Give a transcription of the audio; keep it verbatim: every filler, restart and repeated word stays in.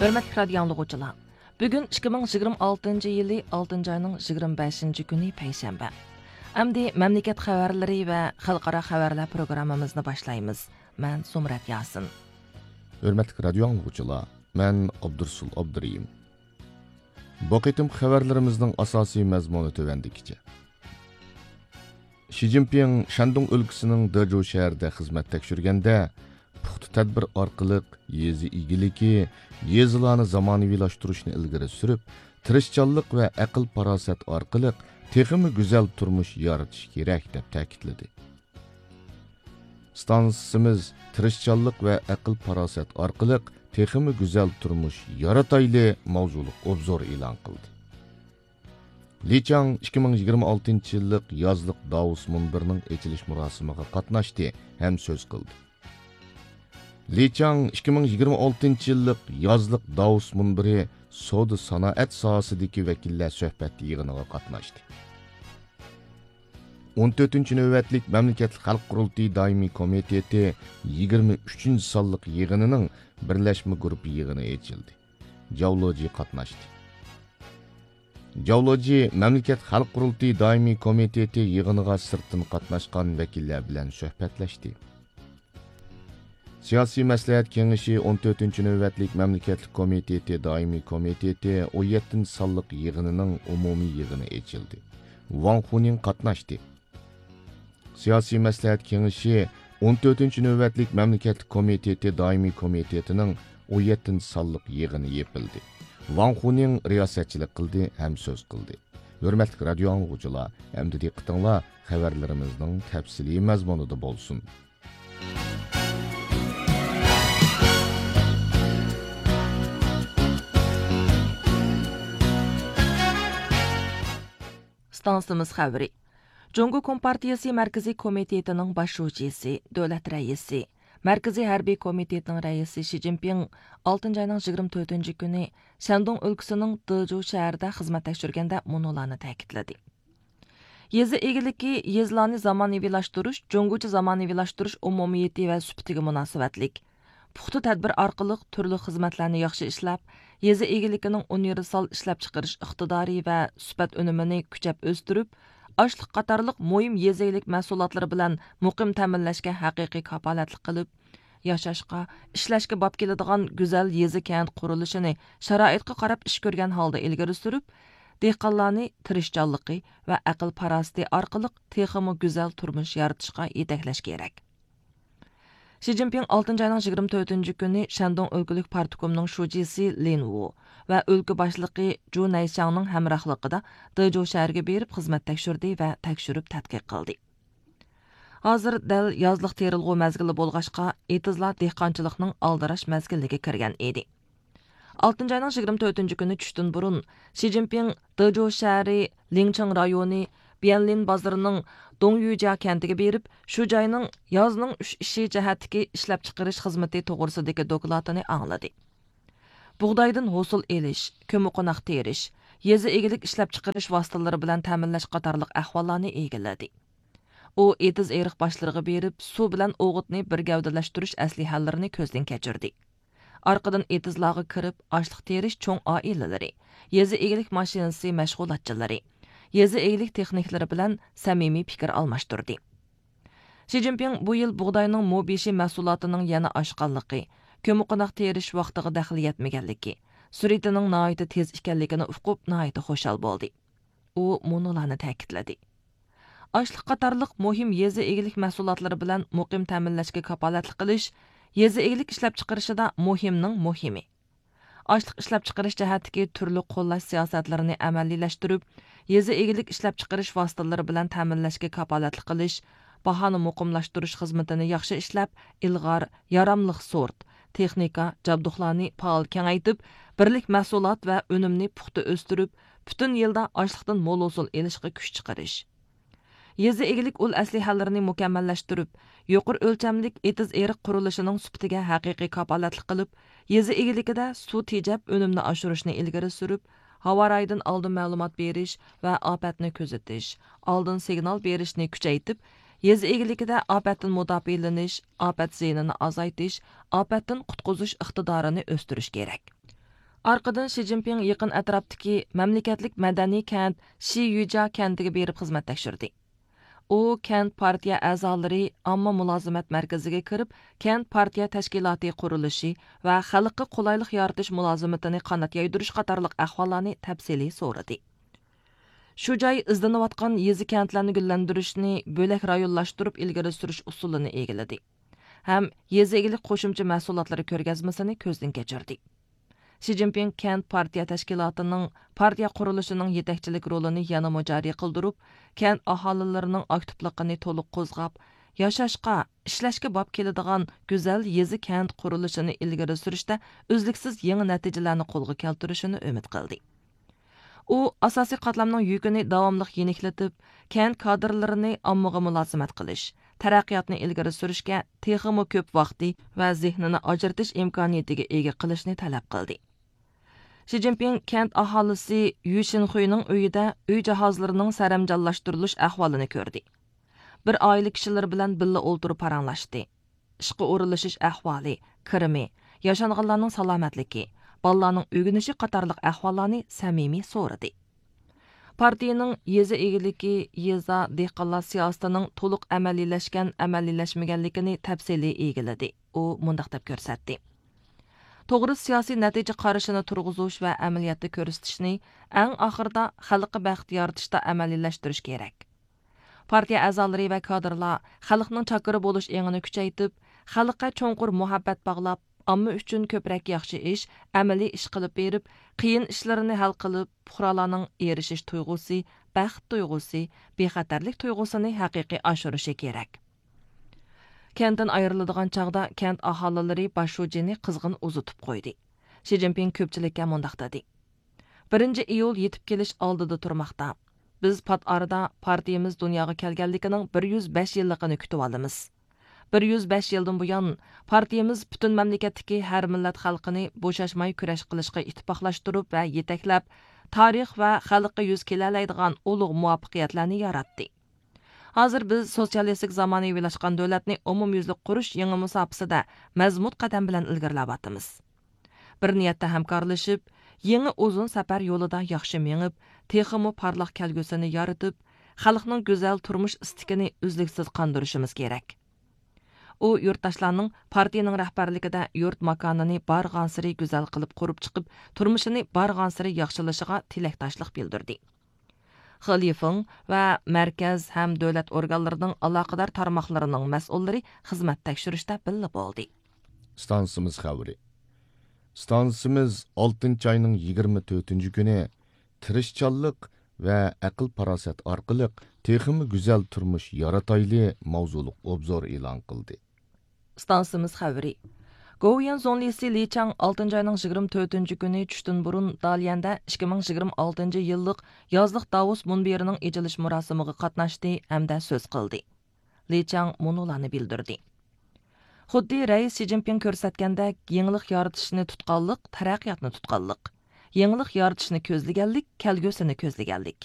ھۆرمەتلىك رادىيو ئاڭلىغۇچىلار، بۈگۈن ئىككى مىڭ يىگىرمە ئالتىنچى يىلى ئالتىنچى ئاينىڭ يىگىرمە بەشىنچى كۈنى پەيشەنبە. ئەمدى مەملىكەت خەۋەرلىرى ۋە خەلقئارا خەۋەرلەر پروگراممىمىزنى باشلايمىز. مەن زۇمرەت ياسىن. ھۆرمەتلىك رادىيو ئاڭلىغۇچىلار، مەن ئابدۇرسۇل ئابدۇرېھىم. بۇ قېتىم خەۋەرلىرىمىزنىڭ ئاساسىي مەزمۇنى تۆۋەندىكىچە. شى جىنپىڭ شەندۇڭ ئۆلكىسىنىڭ دېجۇ شەھىرىدە خىزمەت تەكشۈرگەندە، پۇختا تەدبىر ئارقىلىق يېزا ئىگىلىكى، يېزىلارنى زامانىۋىلاشتۇرۇشنى ئىلگىرى سۈرۈپ، تىرىشچانلىق ۋە ئەقىل-پاراسەت ئارقىلىق تېخىمۇ گۈزەل تۇرمۇش يارىتىش كېرەك، دەپ تەكىتلىدى. ئىستانسىمىز تىرىشچانلىق ۋە ئەقىل-پاراسەت ئارقىلىق تېخىمۇ گۈزەل تۇرمۇش يارىتايلى ماۋزۇلۇق ئوبزور ئېلان قىلدى. لى چاڭ ئىككى مىڭ يىگىرمە ئالتىنچى يىللىق يازلىق داۋوس مۇنبىرىنىڭ ئېچىلىش مۇراسىمىغا قاتناشتى ھەم سۆز قىلدى. لى چاڭ ئىككى مىڭ يىگىرمە ئالتىنچى يىللىق يازلىق داۋوس مۇنبىرى سودا سانائەت ساھەسىدىكى ۋەكىللەر سۆھبەت يىغىنىغا قاتناشتى. ئون تۆتىنچى نۆۋەتلىك مەملىكەتلىك خەلق قۇرۇلتىيى دائىمىي كومىتېتى يىگىرمە ئۈچىنچى سانلىق يىغىنىنىڭ بىرلەشمە گۇرۇپپا يىغىنى ئېچىلدى. جاۋ لېجى قاتناشتى. جاۋ لېجى مەملىكەت خەلق قۇرۇلتىيى دائىمىي كومىتېتى يىغىنىغا سىرتتىن قاتناشقان ۋەكىللەر بىلەن سۆھبەتلەشتى. سىياسىي مەسلىھەت كېڭىشى ئون تۆتىنچى نۆۋەتلىك مەملىكەتلىك كومىتېتى دائىمىي كومىتېتى ئون يەتتىنچى سانلىق يىغىنىنىڭ ئومۇمىي يىغىنى ئېچىلدى. ۋاڭ خۇنىڭ قاتناشتى. سىياسىي مەسلىھەت كېڭىشى ئون تۆتىنچى نۆۋەتلىك مەملىكەتلىك كومىتېتى دائىمىي كومىتېتىنىڭ ئون يەتتىنچى سانلىق يىغىنى يېپىلدى. ۋاڭ خۇنىڭ رىياسەتچىلىك قىلدى ھەم سۆز قىلدى. ھۆرمەتلىك رادىيو ئاڭلىغۇچىلار، ئەمدى دىققىتىڭلار خەۋەرلىرىمىزنىڭ تەپسىلىي مەزمۇنىدا بولسۇن. ئىستانسىمىز خەۋىرى. جۇڭگو كومپارتىيىسى مەركىزىي كومىتېتىنىڭ باش شۇجىسى، دۆلەت رەئىسى، مەركىزىي ھەربىي كومىتېتنىڭ رەئىسى شى جىنپىڭ ئالتىنچى ئاينىڭ يىگىرمە تۆتىنچى كۈنى شەندۇڭ ئۆلكىسىنىڭ دېجۇ شەھىرىدە خىزمەت تەكشۈرگەندە مۇنۇلارنى تەكىتلىدى. يېزا ئىگىلىكى، يېزىلارنى زامانىۋىلاشتۇرۇش جۇڭگوچە زامانىۋىلاشتۇرۇش ئومۇمىيىتى ۋە سۈپىتىگە مۇناسىۋەتلىك. پۇختا تەدبىر ئارقىلىق تۈرلۈك خىزمەتلەرنى ياخشى ئىشلەپ، يېزا ئىگىلىكىنىڭ ئۇنىۋېرسال ئىشلەپچىقىرىش ئىقتىدارى ۋە سۈپەت ئۈنۈمىنى كۈچەپ ئۆستۈرۈپ، ئاشلىق قاتارلىق مۇھىم يېزا ئىگىلىك مەھسۇلاتلىرى بىلەن مۇقىم تەمىنلەشكە ھەقىقىي كاپالەتلىك قىلىپ، ياشاشقا، ئىشلەشكە باب كېلىدىغان گۈزەل يېزا كەنت قۇرۇلۇشىنى شارائىتقا قاراپ ئىش كۆرگەن ھالدا ئىلگىرى سۈرۈپ، دېھقانلارنى تىرىشچانلىقى ۋە ئەقىل پاراسىتى ئارقىلىق تېخىمۇ گۈزەل تۇرمۇش يارىتىشقا يېتەكلەش كېرەك. شى جىنپىڭ ئالتىنچى ئاينىڭ يىگىرمە تۆتىنچى كۈنى شەندۇڭ ئۆلكىلىك پارتكومنىڭ شۇجىسى لىن ۋۇ ۋە ئۆلكە باشلىقى جۇ نەيشياڭنىڭ ھەمراھلىقىدا دېجۇ شەھىرىگە بېرىپ خىزمەت تەكشۈردى ۋە تەكشۈرۈپ تەتقىق قىلدى. ھازىر دەل يازلىق تېرىلغۇ مەزگىلى بولغاچقا، ئېتىزلار دېھقانچىلىقنىڭ ئالدىراش مەزگىلىگە كىرگەن ئىدى. ئالتىنچى ئاينىڭ يىگىرمە تۆتىنچى كۈنى چۈشتىن بۇرۇن، شى جىنپىڭ دېجۇ شەھىرى لىڭچىڭ رايونى بيەنلىن بازىرىنىڭ دوڭيۈجيا كەنتىگە بېرىپ، شۇ جاينىڭ يازنىڭ ئۈچ ئىشى جەھەتتىكى ئىشلەپچىقىرىش خىزمىتى توغرىسىدىكى دوكلاتىنى ئاڭلىدى. بۇغدايدىن ھوسۇل ئېلىش، كۆممىقوناق تېرىش، يېزا ئىگىلىك ئىشلەپچىقىرىش ۋاسىتىلىرى بىلەن تەمىنلەش قاتارلىق ئەھۋاللارنى ئىگىلىدى. ئۇ ئېتىز ئېرىق باشلىرىغا بېرىپ، سۇ بىلەن ئوغۇتنى بىر گەۋدىلەشتۈرۈش ئەسلىھەلىرىنى كۆزدىن كەچۈردى. ئارقىدىن ئېتىزلارغا كىرىپ، ئاشلىق تېرىش چوڭ ئائىلىلىرى، يېزا ئىگىلىك ماشىنىسى مەشغۇلاتچىلىرى، يېزا ئىگىلىك تېخنىكلىرى بىلەن سەمىمىي پىكىر ئالماشتۇردى. شى جىنپىڭ بۇ يىل بۇغداينىڭ مو بېشى مەھسۇلاتىنىڭ يەنە ئاشقانلىقى، كۆممىقوناق تېرىش ۋاقتىغا دەخلى يەتمىگەنلىكى، سۈرئىتىنىڭ ناھايىتى تېز ئىكەنلىكىنى ئۇقۇپ، ناھايىتى خۇشال بولدى. ئۇ مۇنۇلارنى تەكىتلىدى. ئاشلىق قاتارلىق مۇھىم يېزا ئىگىلىك مەھسۇلاتلىرى بىلەن مۇقىم تەمىنلەشكە كاپالەتلىك قىلىش يېزا ئىگىلىك ئىشلەپچىقىرىشىدا مۇھىمنىڭ مۇھىمى. ئاشلىق ئىشلەپچىقىرىش جەھەتتىكى تۈرلۈك قوللاش سىياسەتلىرىنى ئەمەلىيلەشتۈرۈپ، يېزا ئىگىلىك ئىشلەپچىقىرىش ۋاسىتىلىرى بىلەن تەمىنلەشكە كاپالەتلىك قىلىش، باھانى مۇقىملاشتۇرۇش خىزمىتىنى ياخشى ئىشلەپ، ئىلغار، ياراملىق سورت، تېخنىكا، جابدۇقلارنى پائال كېڭەيتىپ، بىرلىك مەھسۇلات ۋە ئۈنۈمنى پۇختا ئۆستۈرۈپ، پۈتۈن يىلدا ئاشلىقتىن مول ھوسۇل ئېلىشقا كۈچ چىقىرىش. يېزا ئىگىلىك ئۇل ئەسلىھەلىرىنى مۇكەممەللەشتۈرۈپ، يۇقىرى ئۆلچەملىك ئېتىز ئېرىق قۇرۇلۇشىنىڭ سۈپىتىگە ھەقىقىي كاپالەتلىك قىلىپ، يېزا ئىگىلىكىدە سۇ تېجەپ ئۈنۈمنى ئاشۇرۇشنى ئىلگىرى سۈرۈپ، ھاۋا رايىدىن ئالدىن مەلۇمات بېرىش ۋە ئاپەتنى كۆزىتىش، ئالدىن سىگنال بېرىشنى كۈچەيتىپ، يېزا ئىگىلىكىدە ئاپەتتىن مۇداپىئەلىنىش، ئاپەت زىيىنىنى ئازايتىش، ئاپەتتىن قۇتقۇزۇش ئىقتىدارىنى ئۆستۈرۈش كېرەك. ئارقىدىن شى جىنپىڭ يېقىن ئەتراپتىكى مەملىكەتلىك مەدەنىي كەنت شىيۈجيا كەنتىگە بېرىپ خىزمەت تەكشۈردى. ئۇ كەنت پارتىيە ئەزالىرى ئامما مۇلازىمەت مەركىزىگە كىرىپ، كەنت پارتىيە تەشكىلاتى قۇرۇلۇشى ۋە خەلققە قولايلىق يارىتىش مۇلازىمىتىنى قانات يايدۇرۇش قاتارلىق ئەھۋاللارنى تەپسىلىي سورىدى. شۇ جاي ئىزدىنىۋاتقان يېزا كەنتلەرنى گۈللەندۈرۈشنى بۆلەك رايونلاشتۇرۇپ ئىلگىرى سۈرۈش ئۇسۇلىنى ئىگىلىدى ھەم يېزا ئىگىلىك قوشۇمچە مەھسۇلاتلىرى كۆرگەزمىسىنى كۆزدىن كەچۈردى. شى جىنپىڭ كەنت پارتىيە تەشكىلاتىنىڭ پارتىيە قۇرۇلۇشىنىڭ يېتەكچىلىك رولىنى يەنىمۇ جارى قىلدۇرۇپ، كەنت ئاھالىلىرىنىڭ ئاكتىپلىقىنى تولۇق قوزغاپ، ياشاشقا، ئىشلەشكە باب كېلىدىغان گۈزەل يېزا كەنت قۇرۇلۇشىنى ئىلگىرى سۈرۈشتە ئۈزلۈكسىز يېڭى نەتىجىلەرنى قولغا كەلتۈرۈشىنى ئۈمىد قىلدى. ئۇ ئاساسىي قاتلامنىڭ يۈكىنى داۋاملىق يېنىكلىتىپ، كەنت كادىرلىرىنى ئاممىغا مۇلازىمەت قىلىش، تەرەققىياتنى ئىلگىرى سۈرۈشكە تېخىمۇ كۆپ ۋاقتى ۋە زېھنىنى ئاجرىتىش ئىمكانىيىتىگە ئىگە قىلىشنى تەلەپ قىلدى. شى جىنپىڭ كەنت ئاھالىسى يۈ شىنخۇينىڭ ئۆيىدە ئۆي جاھازلىرىنىڭ سەرەمجانلاشتۇرۇلۇش ئەھۋالىنى كۆردى. بىر ئائىلە كىشىلىرى بىلەن بىللە ئولتۇرۇپ پاراڭلاشتى. ئىشقا ئورۇنلىشىش ئەھۋالى، كىرىمى، ياشانغانلارنىڭ سالامەتلىكى، بالىلارنىڭ ئۆگىنىشى قاتارلىق ئەھۋاللارنى سەمىمىي سورىدى. پارتىيىنىڭ يېزا ئىگىلىكى، يېزا، دېھقانلار سىياسىتىنىڭ تولۇق ئەمەلىيلەشكەن، ئەمەلىيلەشمىگەنلىكىنى تەپسىلىي ئىگىلىدى. ئۇ مۇنداق دەپ كۆرسەتتى: توغرا سىياسىي نەتىجە قارىشىنى تۇرغۇزۇش ۋە ئەمەلىيەتتە كۆرسىتىشنى ئەڭ ئاخىرىدا خەلققە بەخت يارىتىشتا ئەمەلىيلەشتۈرۈش كېرەك. پارتىيە ئەزالىرى ۋە كادىرلار خەلقنىڭ چاكىرى بولۇش ئېڭىنى كۈچەيتىپ، خەلققە چوڭقۇر مۇھەببەت باغلاپ، ئامما ئۈچۈن كۆپرەك ياخشى ئىش، ئەمەلىي ئىش قىلىپ بېرىپ، قىيىن ئىشلىرىنى ھەل قىلىپ، پۇقرالارنىڭ ئېرىشىش تۇيغۇسى، بەخت تۇيغۇسى، بىخەتەرلىك تۇيغۇسىنى ھەقىقىي ئاشۇرۇشى كېرەك. كەنتتىن ئايرىلىدىغان چاغدا كەنت ئاھالىلىرى باش شۇجىنى قىزغىن ئۇزىتىپ قويدى. شى جىنپىڭ كۆپچىلىككە مۇنداق دېدى: بىرىنچى ئىيۇل يېتىپ كېلىش ئالدىدا تۇرماقتا. بىز پات ئارىدا پارتىيىمىز دۇنياغا كەلگەنلىكىنىڭ بىر يۈز بەش يىللىقىنى كۈتۈۋالىمىز. بىر يۈز بەش يىلدىن بۇيان، پارتىيىمىز پۈتۈن مەملىكەتتىكى ھەر مىللەت خەلقىنى بوشاشماي كۈرەش قىلىشقا ئىتتىپاقلاشتۇرۇپ ۋە يېتەكلەپ، تارىخ ۋە خەلققە يۈز كېلەلەيدىغان ئۇلۇغ مۇۋەپپەقىيەتلەرنى ياراتتى. ھازىر بىز سوتسىيالىستىك زامانىۋىلاشقان دۆلەتنى ئومۇميۈزلۈك قۇرۇش يېڭى مۇساپىسىدە مەزمۇت قەدەم بىلەن ئىلگىرىلەۋاتىمىز. بىر نىيەتتە ھەمكارلىشىپ، يېڭى ئۇزۇن سەپەر يولىدا ياخشى مېڭىپ، تېخىمۇ پارلاق كەلگۈسىنى يارىتىپ، خەلقنىڭ گۈزەل تۇرمۇش ئىستىكىنى ئۈزلۈكسىز قاندۇرۇشىمىز كېرەك. ئۇ يۇرتداشلارنىڭ پارتىيىنىڭ رەھبەرلىكىدە يۇرت ماكانىنى بارغانسېرى گۈزەل قىلىپ قۇرۇپ چىقىپ، تۇرمۇشىنى بارغانسېرى ياخشىلىشىغا تىلەكداشلىق بىلدۈردى. خې لىفېڭ ۋە مەركەز ھەم دۆلەت ئورگانلىرىنىڭ ئالاقىدار تارماقلىرىنىڭ مەسئۇللىرى خىزمەت تەكشۈرۈشتە بىللە بولدى. ئىستانسىمىز خەۋىرى. ئىستانسىمىز ئالتىنچى ئاينىڭ يىگىرمە تۆتىنچى كۈنى تىرىشچانلىق ۋە ئەقىل-پاراسەت ئارقىلىق تېخىمۇ گۈزەل تۇرمۇش يارىتايلى ماۋزۇلۇق ئوبزور ئېلان قىلدى. ئىستانسىمىز خەۋىرى. گوۋۇيۈەن زۇڭلىسى لى چاڭ ئالتىنچى ئاينىڭ يىگىرمە تۆتىنچى كۈنى چۈشتىن بۇرۇن داليەندە ئىككى مىڭ يىگىرمە ئالتىنچى يىللىق يازلىق داۋوس مۇنبىرىنىڭ ئېچىلىش مۇراسىمىغا قاتناشتى ھەمدە سۆز قىلدى. لى چاڭ مۇنۇلارنى بىلدۈردى: خۇددى رەئىس شى جىنپىڭ كۆرسەتكەندەك، يېڭىلىق يارىتىشنى تۇتقانلىق، تەرەققىياتنى تۇتقانلىق. يېڭىلىق يارىتىشنى كۆزلىگەنلىك، كەلگۈسىنى كۆزلىگەنلىك.